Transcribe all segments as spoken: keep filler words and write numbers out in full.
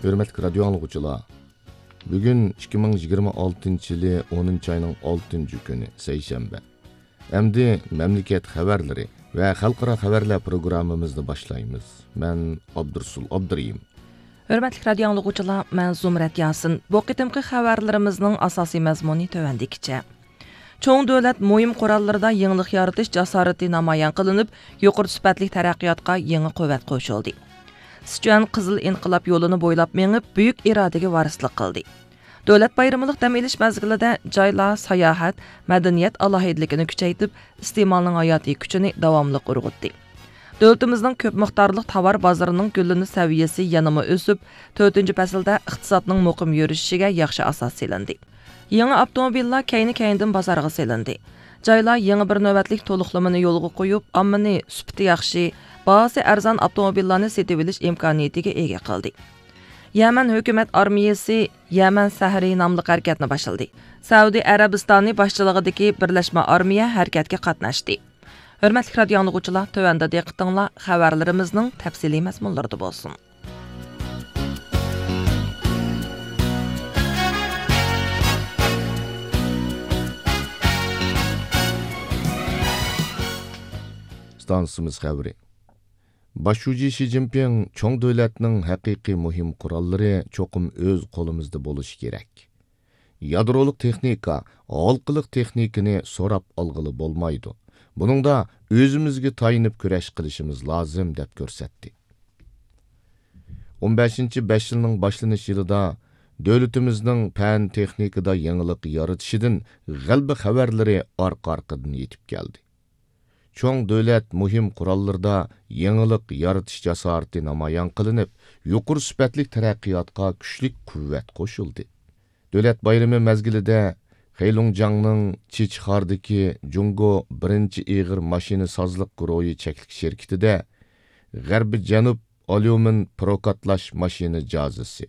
ھۆرمەتلىك رادىيو ئاڭلىغۇچىلار، بۈگۈن ئىككى مىڭ يىگىرمە ئالتىنچى يىلى ئونىنچى ئاينىڭ ئالتىنچى كۈنى، سەيشەنبە. ئەمدى مەملىكەت خەۋەرلىرى ۋە خەلقئارا خەۋەرلەر پروگراممىمىزنى باشلايمىز. مەن ئابدۇرسۇل ئابدۇرېھىم. ھۆرمەتلىك رادىيو ئاڭلىغۇچىلار، مەن زۇمرەت ياسىن. بۇ قېتىمقى خەۋەرلىرىمىزنىڭ ئاساسىي مەزمۇنى تۆۋەندىكىچە. چوڭ دۆلەت مۇھىم قوراللىرىدا يېڭىلىق يارىتىش جاسارىتى نامايان قىلىنىپ، يۇقىرى سۈپەتلىك تەرەققىياتقا يېڭى قۇۋۋەت قوشۇلدى. سىچۈەن قىزىل ئىنقىلاب يولىنى بويلاپ مېڭىپ، بۈيۈك ئىرادىگە ۋارىسلىق قىلدى. دۆلەت بايرىملىق دەم ئېلىش مەزگىلىدە جايلار ساياھەت، مەدەنىيەت ئالاھىدىلىكىنى كۈچەيتىپ، ئىستېمالنىڭ ھاياتىي كۈچىنى داۋاملىق ئۇرغۇتتى. دۆلىتىمىزنىڭ كۆپ مىقدارلىق تاۋار بازىرىنىڭ گۈللىنىش سەۋىيەسى يەنىمۇ ئۆسۈپ، تۆتىنچى پەسىلدە ئىقتىسادنىڭ مۇقىم يۈرۈشۈشىگە ياخشى ئاساس سېلىندى. يېڭى ئاپتوموبىللار كەينى-كەينىدىن بازارغا سېلىندى. جايلار يېڭى بىر نۆۋەتلىك تولۇقلىمىنى يولغا قويۇپ، ئاممىنى سۈپىتى ياخشى، باھاسى ئەرزان ئاپتوموبىللارنى سېتىۋېلىش ئىمكانىيىتىگە ئىگە قىلدى. يەمەن ھۆكۈمەت ئارمىيەسى يەمەن سەھىرى ناملىق ھەرىكەتنى باشلىدى. سەئۇدى ئەرەبىستانى باشچىلىقىدىكى بىرلەشمە ئارمىيە ھەرىكەتكە قاتناشتى. ھۆرمەتلىك رادىيو ئاڭلىغۇچىلار، تۆۋەندە دىققىتىڭلار خەۋەرلىرىمىزنىڭ تەپسىلىي مەزمۇنلىرىدا بولسۇن. ئىستانسىمىز خەۋىرى. باش شۇجى شى جىنپىڭ چوڭ دۆلەتنىڭ ھەقىقىي مۇھىم قوراللىرى چوقۇم ئۆز قولىمىزدا بولۇشى كېرەك. يادرولۇق تېخنىكا، ھالقىلىق تېخنىكىنى سوراپ ئالغىلى بولمايدۇ. بۇنىڭدا ئۆزىمىزگە تايىنىپ كۈرەش قىلىشىمىز لازىم، دەپ كۆرسەتتى. ئون بەشىنچى بەش يىلنىڭ باشلىنىش يىلىدا دۆلىتىمىزنىڭ پەن تېخنىكىدا يېڭىلىق يارىتىشىدىن غەلىبە خەۋەرلىرى ئارقا-ئارقىدىن يېتىپ كەلدى. چوڭ دۆلەت مۇھىم قوراللىرىدا يېڭىلىق يارىتىش جاسارىتى نامايان قىلىنىپ، يۇقىرى سۈپەتلىك تەرەققىياتقا كۈچلۈك قۇۋۋەت قوشۇلدى. دۆلەت بايرىمى مەزگىلىدە خېيلۇڭجياڭنىڭ چىچخاردىكى جۇڭگو بىرىنچى ئېغىر ماشىنىسازلىق گۇرۇھى چەكلىك شىركىتىدە غەربىي جەنۇب ئاليۇمىن پروكاتلاش ماشىنا جازىسى،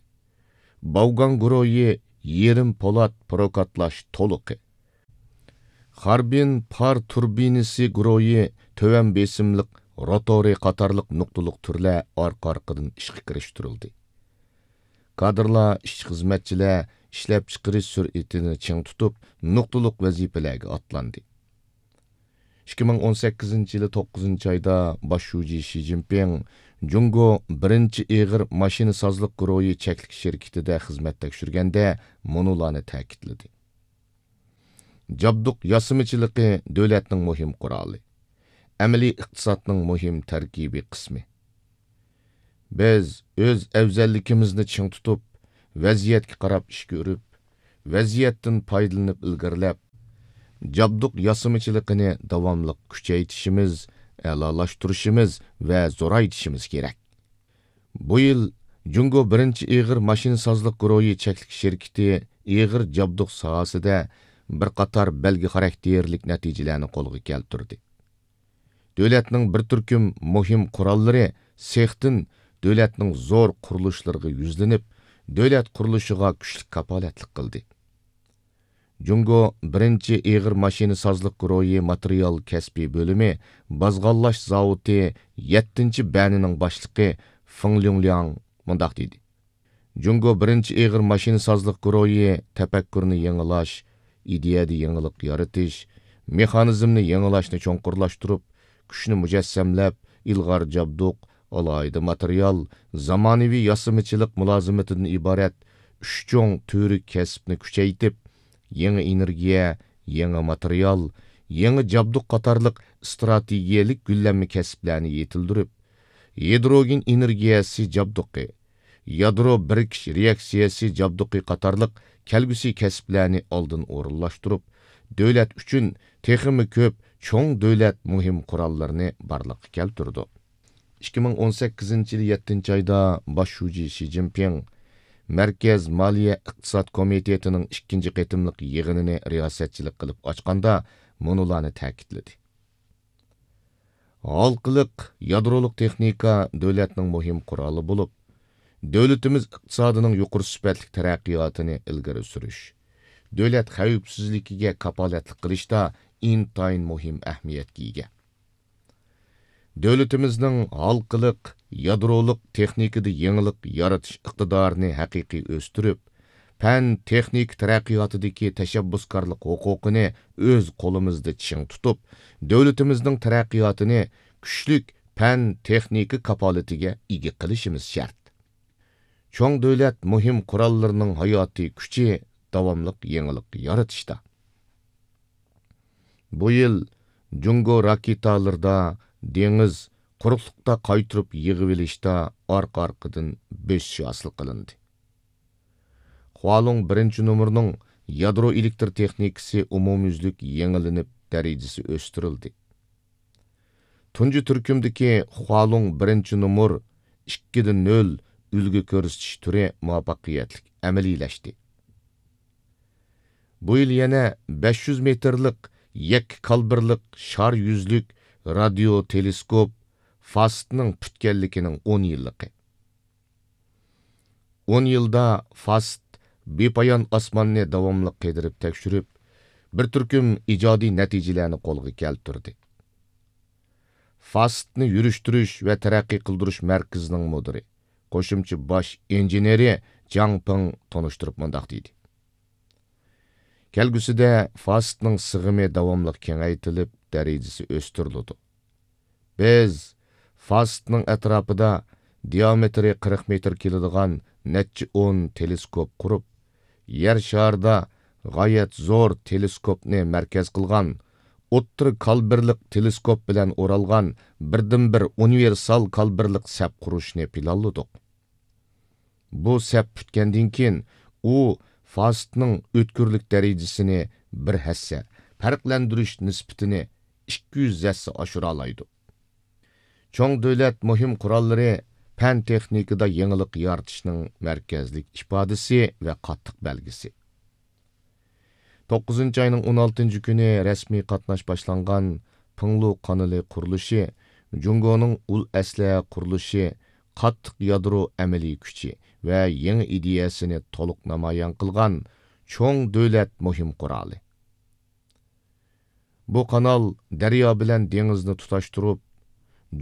باۋگاڭ گۇرۇھى يېرىم پولات پروكاتلاش تولۇقى، خاربىن پار تۇربىنىسى گۇرۇھى تۆۋەن بېسىملىق روتورى قاتارلىق نۇقتىلىق تۈرلەر ئارقا-ئارقىدىن ئىشقا كىرىشتۈرۈلدى. كادىرلار، ئىشچى-خىزمەتچىلەر ئىشلەپچىقىرىش سۈرئىتىنى چىڭ تۇتۇپ، نۇقتىلىق ۋەزىپىلەرگە ئاتلاندى. ئىككى مىڭ ئون سەككىزىنچى يىلى توققۇزىنچى ئايدا باش شۇجى شى جىنپىڭ جۇڭگو بىرىنچى ئېغىر ماشىنىسازلىق گۇرۇھى چەكلىك شىركىتىدە خىزمەت تەكشۈرگەندە مۇنۇلارنى تەكىتلىدى. جابدۇق ياسىمىچىلىقى دۆلەتنىڭ مۇھىم قورالى، ئەمەلىي ئىقتىسادنىڭ مۇھىم تەركىبىي قىسمى. بىز ئۆز ئەۋزەللىكىمىزنى چىڭ تۇتۇپ، ۋەزىيەتكە قاراپ ئىش كۆرۈپ، ۋەزىيەتتىن پايدىلىنىپ ئىلگىرىلەپ، جابدۇق ياسىمىچىلىقىنى داۋاملىق كۈچەيتىشىمىز، ئەلالاشتۇرۇشىمىز ۋە زورايتىشىمىز كېرەك. بۇ يىل جۇڭگو بىرىنچى ئېغىر ماشىنىسازلىق گۇرۇھى چەكلىك شىركىتى ئېغىر جابدۇق ساھەسىدە بىر قاتار بەلگە خاراكتېرلىك نەتىجىلەرنى قولغا كەلتۈردى. دۆلەتنىڭ بىر تۈركۈم مۇھىم قوراللىرى سېختىن دۆلەتنىڭ زور قۇرۇلۇشلىرىغا يۈزلىنىپ، دۆلەت قۇرۇلۇشىغا كۈچلۈك كاپالەتلىك قىلدى. جۇڭگو بىرىنچى ئېغىر ماشىنىسازلىق گۇرۇھى ماتېرىيال كەسپىي بۆلۈمى بازغانلاش زاۋۇتى يەتتىنچى بەنىنىڭ باشلىقى فېڭ ليۇڭلياڭ مۇنداق دېدى: جۇڭگو بىرىنچى ئېغىر ماشىنىسازلىق گۇرۇھى تەپەككۇرنى يېڭىلاش، ئىدىيەدە يېڭىلىق يارىتىش، مېخانىزمنى يېڭىلاشنى چوڭقۇرلاشتۇرۇپ، كۈچنى مۇجەسسەملەپ، ئىلغار جابدۇق، ئالاھىدە ماتېرىيال، زامانىۋى ياسىمىچىلىق مۇلازىمىتىدىن ئىبارەت ئۈچ چوڭ تۈۋرۈك كەسىپنى كۈچەيتىپ، يېڭى ئېنېرگىيە، يېڭى ماتېرىيال، يېڭى جابدۇق قاتارلىق ئىستراتېگىيەلىك گۈللەنمە كەسىپلەرنى يېتىلدۈرۈپ، ھىدروگېن ئېنېرگىيەسى جابدۇقى، يادرو بىرىكىش رېئاكسىيەسى جابدۇقى قاتارلىق كەلگۈسى كەسىپلەرنى ئالدىن ئورۇنلاشتۇرۇپ، دۆلەت ئۈچۈن تېخىمۇ كۆپ چوڭ دۆلەت مۇھىم قوراللىرىنى بارلىققا كەلتۈرىدۇ. ئىككى مىڭ ئون سەككىزىنچى يىلى يەتتىنچى ئايدا باش شۇجى شى جىنپىڭ مەركەز مالىيە ئىقتىساد كومىتېتىنىڭ ئىككىنچى قېتىملىق يىغىنىنى رىياسەتچىلىك قىلىپ ئاچقاندا مۇنۇلارنى تەكىتلىدى. ھالقىلىق يادرولۇق تېخنىكا دۆلەتنىڭ مۇھىم قورالى بولۇپ، دۆلىتىمىز ئىقتىسادىنىڭ يۇقىرى سۈپەتلىك تەرەققىياتىنى ئىلگىرى سۈرۈش، دۆلەت خەۋپسىزلىكىگە كاپالەتلىك قىلىشتا ئىنتايىن مۇھىم ئەھمىيەتكە ئىگە. دۆلىتىمىزنىڭ ھالقىلىق يادرولۇق تېخنىكىدا يېڭىلىق يارىتىش ئىقتىدارىنى ھەقىقىي ئۆستۈرۈپ، پەن تېخنىكا تەرەققىياتىدىكى تەشەببۇسكارلىق ھوقۇقىنى ئۆز قولىمىزدا چىڭ تۇتۇپ، دۆلىتىمىزنىڭ تەرەققىياتىنى كۈچلۈك پەن تېخنىكا كاپالىتىگە ئىگە قىلىشىمىز شەرت. چوڭ دۆلەت مۇھىم قوراللىرىنىڭ ھاياتىي كۈچى داۋاملىق يېڭىلىق يارىتىشتا. بۇ يىل جۇڭگو راكېتالىرىدا دېڭىز، قۇرۇقلۇقتا قايتۇرۇپ يىغىۋېلىشتا ئارقا-ئارقىدىن بۆسۈش ھاسىل قىلىندى. خۇالۇڭ بىرىنچى نومۇرىنىڭ يادرو ئېلېكتر تېخنىكىسى ئومۇميۈزلۈك يېڭىلىنىپ، دەرىجىسى ئۆستۈرۈلدى. تۇنجى تۈركۈمدىكى خۇالۇڭ بىرىنچى نومۇر ئىككىدە نۆل ئۈلگە كۆرسىتىش تۈرى مۇۋەپپەقىيەتلىك ئەمەلىيلەشتى. بۇ يىل يەنە بەش يۈز مېتىرلىق يەككە كالىبىرلىق شار يۈزلۈك رادىيو تېلېسكوپ فاستنىڭ پۈتكەنلىكىنىڭ ئون يىللىقى. ئون يىلدا فاست بىپايان ئاسماننى داۋاملىق قېدىرىپ تەكشۈرۈپ، بىر تۈركۈم ئىجادىي نەتىجىلەرنى قولغا كەلتۈردى. فاستنى يۈرۈشتۈرۈش ۋە تەرەققىي قىلدۇرۇش مەركىزىنىڭ مۇدىرى، قوشۇمچە باش ئىنژېنېرى جاڭ پېڭ تونۇشتۇرۇپ مۇنداق دېدى: كەلگۈسىدە فاستنىڭ سىغىمى داۋاملىق كېڭەيتىلىپ، دەرىجىسى ئۆستۈرۈلىدۇ. بىز فاستنىڭ ئەتراپىدا دىئامېتىرى قىرىق مېتىر كېلىدىغان نەچچە ئون تېلېسكوپ قۇرۇپ، يەر شارىدا غايەت زور تېلېسكوپنى مەركەز قىلغان، ئوتتۇرا كالىبىرلىق تېلېسكوپ بىلەن ئورالغان بىردىنبىر ئۇنىۋېرسال كالىبىرلىق سەپ قۇرۇشنى پىلانلىدۇق. بۇ سەپ پۈتكەندىن كېيىن، ئۇ فاستنىڭ ئۆتكۈرلۈك دەرىجىسىنى بىر ھەسسە، پەرقلەندۈرۈش نىسبىتىنى ئىككى يۈز ھەسسە ئاشۇرالايدۇ. چوڭ دۆلەت مۇھىم قوراللىرى پەن تېخنىكىدا يېڭىلىق يارىتىشنىڭ مەركەزلىك ئىپادىسى ۋە قاتتىق بەلگىسى. توققۇزىنچى ئاينىڭ ئون ئالتىنچى كۈنى رەسمىي قاتناش باشلانغان پىڭلۇ قانىلى قۇرۇلۇشى جۇڭگونىڭ ئۇل ئەسلىھە قۇرۇلۇشى، قاتتىق يادرو ئەمەلىي كۈچى ۋە يېڭى ئىدىيەسىنى تولۇق نامايان قىلغان چوڭ دۆلەت مۇھىم قورالى. بۇ قانال دەريا بىلەن دېڭىزنى تۇتاشتۇرۇپ،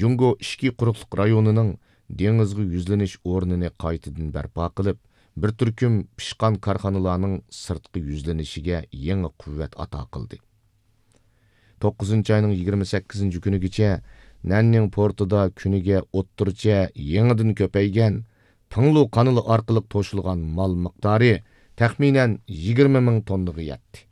جۇڭگو ئىچكى قۇرۇقلۇق رايونىنىڭ دېڭىزغا يۈزلىنىش ئورنىنى قايتىدىن بەرپا قىلىپ، بىر تۈركۈم پىشقان كارخانىلارنىڭ سىرتقا يۈزلىنىشىگە يېڭى قۇۋۋەت ئاتا قىلدى. توققۇزىنچى ئاينىڭ يىگىرمە سەككىزىنچى كۈنىگىچە نەننىڭ پورتىدا كۈنىگە ئوتتۇرىچە يېڭىدىن كۆپەيگەن پىڭلۇ قانىلى ئارقىلىق توشۇلغان مال مىقدارى تەخمىنەن يىگىرمە مىڭ توننىغا يەتتى.